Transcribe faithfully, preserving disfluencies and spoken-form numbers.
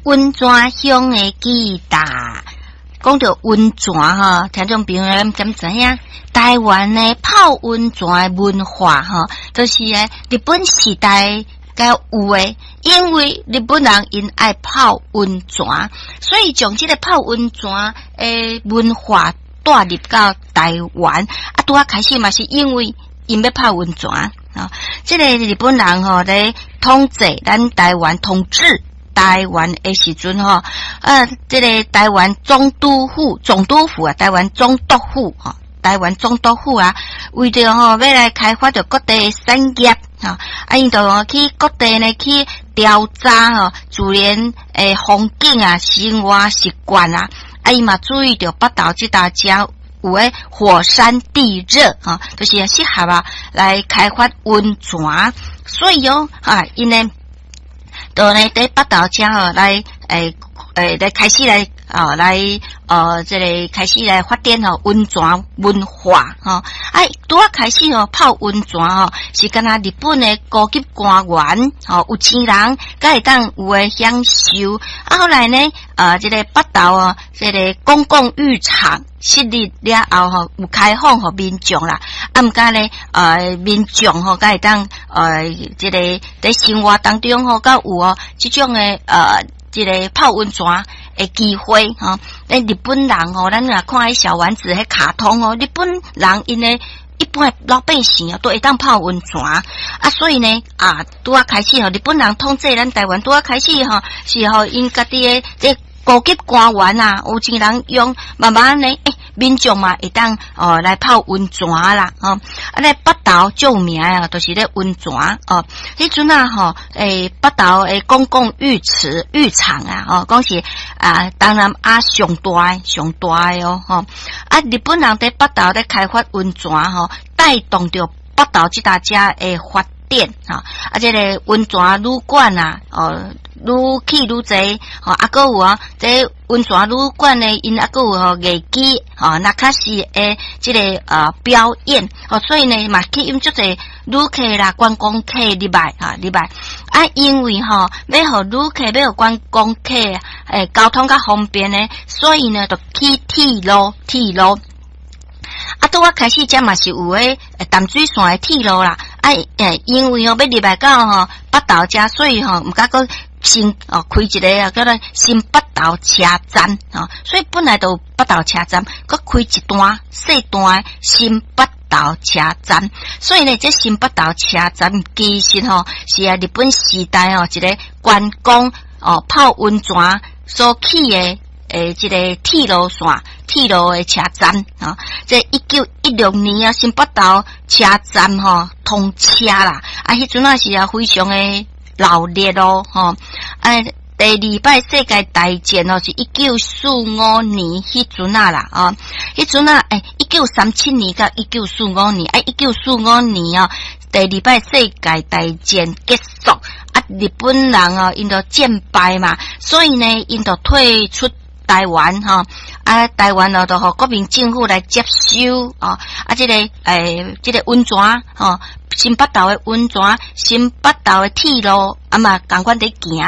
溫泉鄉的記答，講著溫泉吼，聽眾朋友咱敢知影？台灣的泡溫泉的文化吼，就是咧日本時代才有的，因為日本人𪜶愛泡溫泉，所以將這个泡溫泉的文化帶入到台灣。啊，拄仔開始嘛是因為𪜶欲泡溫泉啊，這个日本人吼咧統治咱台灣統治台灣的時陣吼，啊，這个台灣總督府、總督府啊，台灣總督府吼，台灣總督府啊，為著吼欲來開發著各地的產業吼，啊，𪜶就去各地呢去調查吼自然的風景啊、生活習慣啊，啊，伊嘛注意著北投這搭遮有的火山地熱吼，就是適合啊來開發溫泉，所以哦，啊，𪜶呢，就呢，佇北投遮吼來，欸欸來開始來，哦來，呃，這个開始來發展吼溫泉文化吼。啊，拄仔開始吼泡溫泉吼，是敢若日本的高級官員吼，有錢人才會當有的享受。啊，後來呢，呃，這个北投哦，這个公共浴場設立了後吼，有開放予民眾啦。啊，毋過呢，呃，民眾吼，才會當呃，這个佇生活當中吼，閣有哦，這種的呃，這个泡溫泉的機會吼。咧日本人吼，咱若看彼小丸子彼卡通哦，日本人𪜶的一般的老百姓啊，都會當泡溫泉啊，所以呢，啊，拄仔開始吼，日本人統治咱台灣，拄仔開始吼，是予𪜶家己的這高級官員啊，有錢人用，慢慢呢，欸，民眾嘛會當哦來泡溫泉啦，吼，啊咧北投最有名啊，就是咧溫泉哦。彼陣啊吼，欸，北投的公共浴池浴場啊，吼，講是啊，東南亞上大上大的哦，吼。啊，日本人佇北投咧開發溫泉吼，帶動著北投這搭遮的發展，吼，啊，這个溫泉旅館啊，哦，愈起愈濟，吼，啊，閣有啊，這溫泉旅館呢，𪜶啊閣有吼藝伎，吼，那卡西的這个呃表演，吼，所以呢嘛吸引足濟旅客啦、觀光客入來，哈，入來。啊，因為吼欲予旅客、欲予觀光客，欸，交通較方便呢，所以呢，就起鐵路、鐵路。啊，拄仔開始遮嘛是有彼淡水線的鐵路啦，啊，欸，因為吼欲入來到吼北投遮，所以吼毋敢閣新哦開一个啊，叫做新北投車站吼，所以本來就有北投車站，閣開一段細段的新北投車站，所以呢，這新北投車站其實吼是啊日本時代吼一个觀光哦泡溫泉所起的。欸，這个鐵路線、鐵路的車站啊，這一九一六年啊，新北投車站吼通車啦，啊，彼陣啊是啊非常的熱鬧咯，吼，啊，第二擺世界大戰哦，是一九四五年彼陣啊啦，哦，彼陣啊，欸，一九三七年到一九四五年，啊，一九四五年哦，第二擺世界大戰結束，啊，日本人哦，𪜶就戰敗嘛，所以呢，𪜶就退出台灣吼，啊，台灣哦，就予國民政府來接收哦，啊，這个欸，這个溫泉吼，新北投的溫泉，新北投的鐵路啊嘛，仝款佇行。